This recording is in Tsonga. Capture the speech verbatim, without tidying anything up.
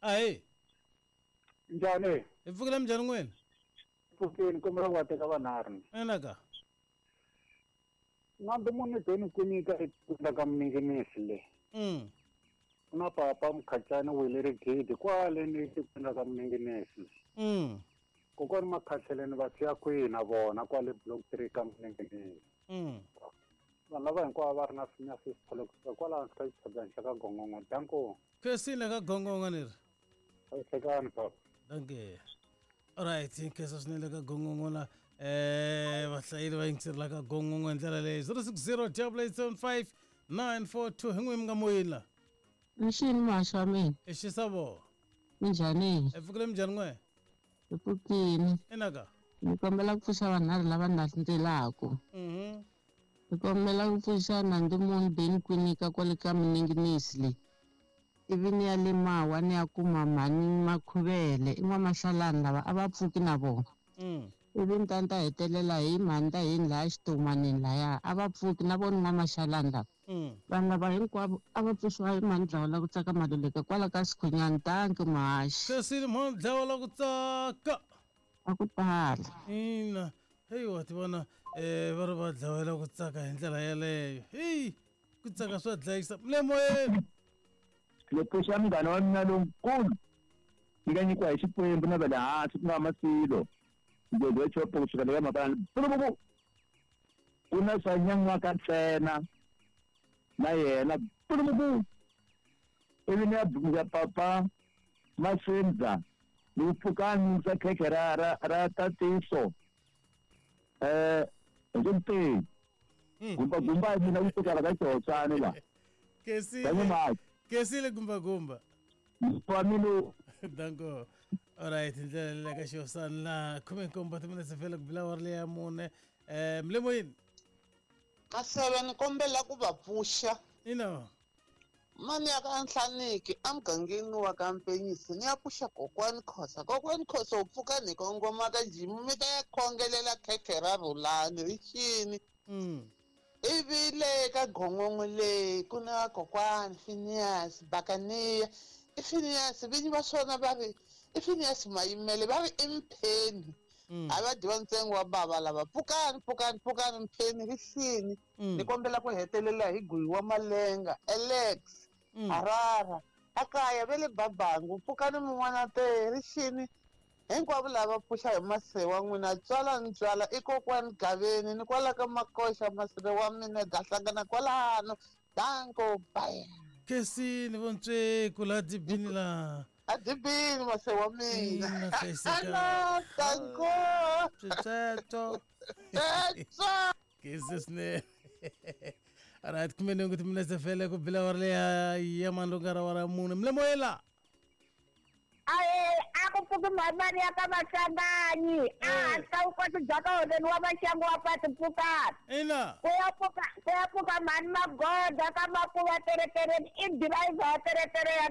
Ahee. Njhani? Hi pfukile minjhani n'wina? Pfukile kombela ku va teka vanharhu. Ina ka. N'ambe munhu beni ku nyika etikweni ka Minginisi le. Mm. Na papa Mkhacani wile rigidi kwale ni tikweni ka Minginisi. Mm. Kokwani Makhatlheleni va siya kwihi na vona kwale block three ka Minginisi. Mm. Vanhu lava hinkwavo va ri na na swipholo kusuka kwalaho ka xitshabani xa ka Gongongo. Danko. Khensile ka Gongongo ni ri. Hlekani papa. Danke. Alright, nkhensa swinene ka Gongongo la eh vahlayeli va yingiseri la ka Gongongo hi ndlela leyi zero six zero double eight seven five nine four two hi n'wi mi nga moyeni la. Mxini muhaxi wa mina. I xisavo. Minjhani? Hi pfukile minjhani n'we? Hi pfukile. Ina ka. Ni kombela ku pfuxa vanharhu lava landzelaka. Mhm. Ni kombela ku pfuxa Nandimuni Beni Kwinika kwale ka Minginisi le. Ivi ni ya le Mawa ni ya kuma mhani Makhuvele i n'wamahlalani lava a va pfuki na vona. Mm. Ivi ni ta ni ta hetelela hi mhani ta yini laya xitomanini laya a va pfuki na vona n'wamahlalani lava. Mm. Vanhu lava hinkwavo a va pfuxiwa hi mhani Dlawa la ku tsaka Maluleke kwala ka Sikhunyani. Danki muhaxi. Khensile mhani Dlawa la ku tsaka. A ku tala. Ina. Heyi wa ti vona eh va ri va dlawela ku tsaka hi ndlela yeleyo. Heyi ku tsaka swa dlayisa. Mle moyeni. Ni pfuxa munghana wa mina lonkulu ni nga nyikiwa hi Xikwembu na va le hansi ku nga Masilo ngwegwe chopo kusuka le ka Mabalani pulupupu ku na swa nyan'waka ntsena na yena pulupupu ivi ni ya ya papa Masindza ni ku pfukani swa khekhe ra ra ra tatiso eh hi mpeyi gumba gumba mina ku sukela ka xihotswani la. Khensile. Khensile gumba gumba. Wa mina. Danko. Alright, ndlela le ka xihosana la khume nkombo timinetse fela ku bila awara leya mune. Eh mle moyeni. Maseve ni kombela ku va pfuxa. Ina. Mani ya ka Nhlaniki emugangeni wa ka Mpenyisi ni ya pfuxa kokwani Khosa. Kokwani Khosa u pfuka ni kongoma ka jimu mi ta ya khongelela khekhe ra Rhulani rixini. Mm. Ivi le ka Gongongo le ku na kokwani Phineas Bakaniya. I Phineas vinyi va swona va ri i Phineas Mayimele va ri i Mpheni. A va dyiwa ntsengo wa bava lava. Pfukani pfukani pfukani Mpheni rixini. Ni kombela ku hetelela hi Guyi wa Malenga Alex Harara akaya ve le Babangu. Pfukani mun'wana te rixini. Hinkwavo lava pfuxa hi mase wa n'wina tswala ni tswala i kokwani Gaveni ni kwala ka Makoxa maseve wa mina da hlangana kwalano. Danko bye. Khensile vontsweku la dibini la. A dibini mase wa mina. Ina danko. Switsweto. Switsweto. Khensile swinene. Alright, khume nhungu timinetse fele ku bila awara leya ya mandlungara wa ra mune. Mle moyeni la. Aye, a ku pfuki mhani ya ka Maswanganyi. A hatla u kota bya ka holeni wa Maxangu wa patu pfukani. Ina. Ku ya pfuka ku ya pfuka mhani Magoda ka Makuva teretereni i dirayivha ya teretere ya